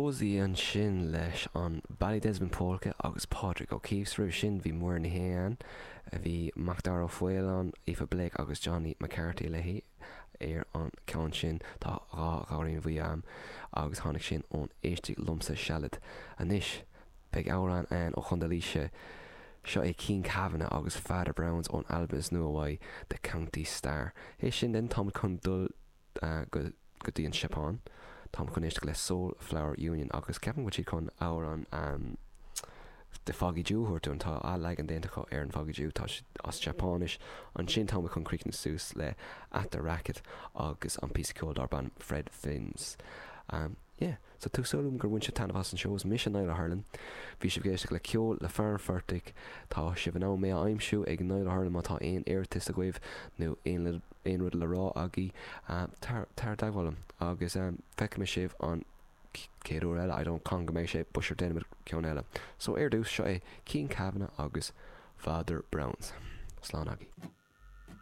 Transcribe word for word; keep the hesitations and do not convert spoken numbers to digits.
Rosie ansin leis an Ballydesmond Polka agus Pádraig O'Keeffe roimh sin bhí Muireann Ní Shé ann, bhí Macdara Ó Faoláin, Aoife Blake agus Johnny McCarthy léi ar an ceann sin tá dhá ghamhraín bhuí a'm agus tháinig sin ón Éistigh Liomsa Sealad. Anois beidh amhrán ann ó Chontae Laoise seo é Cian Kavanagh agus Father Browns ón albam is nua uaidh The County Star. É sin den táim chun dul uh, go go dtí an Seapáin. Táim chun éisteacht le Soul Flower Union agus ceapaim go bhfuil siad chun amhrán um, The Foggy Dew thuirú an tá a leagan déanta acu ar an Foggy Dew tá as Seapáinis ansin tá chun críochnú suas le At the Racket agus an píosa ceoil darb ainm Fred Fins. Um, yeah, so tá súil agam gur bhain sibh taitneamh as an seó mise Niall Hurlin. Bhí sibh ag éisteacht le ceol le fear an phortaigh tá sibh in ann mé a aimsiú ag Niall Hurlin má tá aon iarratas agaibh nó aon aon rud le rá agaibh uh, tar tar i dteagmháil liom agus um, feicfidh mé sibh an chéad uair eile I don't con go mbeidh sé busir déanamh ceann eile. So ar dtús seo é Cian Kavanagh agus Father Browns. Slán agaibh.